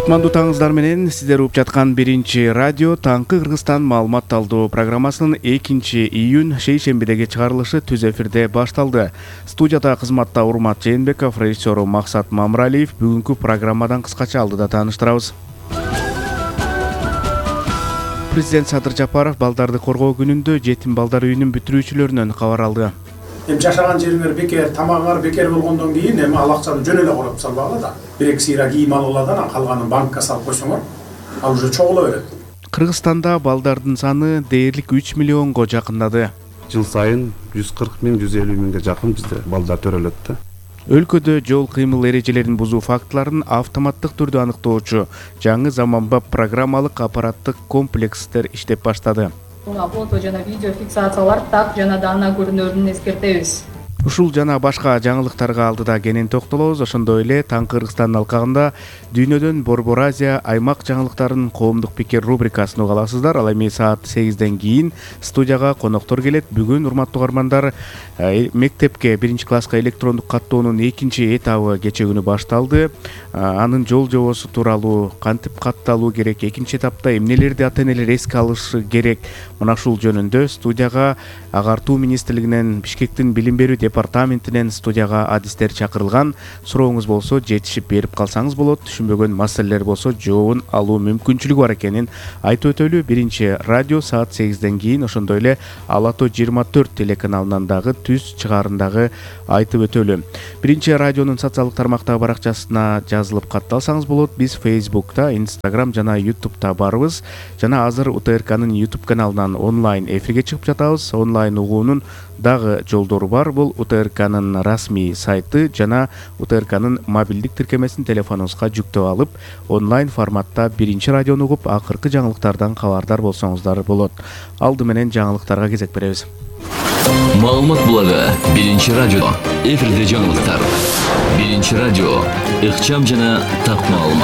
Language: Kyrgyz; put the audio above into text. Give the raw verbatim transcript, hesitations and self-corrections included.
Кутмандуу таңыңыздар менен сиздер угуп жаткан биринчи радио Таңкы Кыргызстан маалымат алуу программасынын экинчи июнь шейшембидеги чыгарылышы түз эфирде башталды. Студияда кызматта Урмат Жээнбеков, режиссеру Максат Мамыралиев. Бүгүнкү программадан кыскача алдыда тааныштырабыз. Президент Садыр Жапаров балдарды коргоо күнүндө жетим балдар үйүнүн бүтүрүүчүлөрүнөн кабар алды. Эми жашаган жериңер бекер, тамагыңар бекер болгондон кийин эми ал акчаны жөн эле коротуп салбагыла да. Бир-эки сыйра кийим алып алат, анан калганын банкка салып койсоңор, ал уже чогула берет. Кыргызстанда балдардын саны дээрлик үч миллионго жакындады. Жыл сайын жүз кырк миң, жүз элүү миңге жакын бизде балдар төрөлөт да. Өлкөдө жол кыймыл эрежелерин бузуу фактыларын автоматтык түрдө аныктоочу жаңы заманбап программалык аппараттык комплекстер иштеп баштады. Фото жана видео фиксациялар так жана даана көрүнөрүн эскертебиз. Ушул жана башка жаңылыктарга алдыда кенен токтолобуз. Ошондой эле Таңкы Кыргызстан алкагында дүйнөдөн Борбор Азия аймак жаңылыктарынын коомдук пикир рубрикасын уга аласыздар. Ал эми саат сегизден кийин студияга коноктор келет. Бүгүн урматтуу угармандар, мектепке биринчи класска электрондук каттоонун экинчи этабы кечээ күнү башталды. Анын жол жобосу тууралуу, кантип катталуу керек, экинчи этапта эмнелерди ата энелер эске алышы керек, мына ушул жөнүндө студияга Агартуу министрлигинен, Бишкектин билим берүү департаментинен студияга адистер чакырылган. Сурооңуз болсо жетишип берип калсаңыз болот. Түшүнбөгөн маселелер болсо жообун алуу мүмкүнчүлүгү бар экенин айтып өтөлү. Биринчи радио саат сегизден кийин, ошондой эле Ала Тоо жыйырма төрт телеканалынан дагы түз чыгаарындагы айтып өтөлү. Биринчи радионун социалдык тармактагы баракчасына жазылып катталсаңыз болот. Биз Facebook'та, Instagram жана YouTube'та барбыз. Жана азыр У Т Р К'нын YouTube каналынан онлайн эфирге чыгып жатабыз. Онлайн угуунун дагы жолдору бар. Бул У Т Р К'нын расмий сайты жана У Т Р К'нын мобилдик тиркемесин телефонуңузга жүктөп алып, онлайн форматта биринчи радиону угуп, акыркы жаңылыктардан кабардар болсоңуздар болот. Алды менен жаңылыктарга кезек беребиз. Маалымат булагы биринчи радио. Эфирде жаңылыктар. Биринчи радио. Ыкчам жана так маалымат.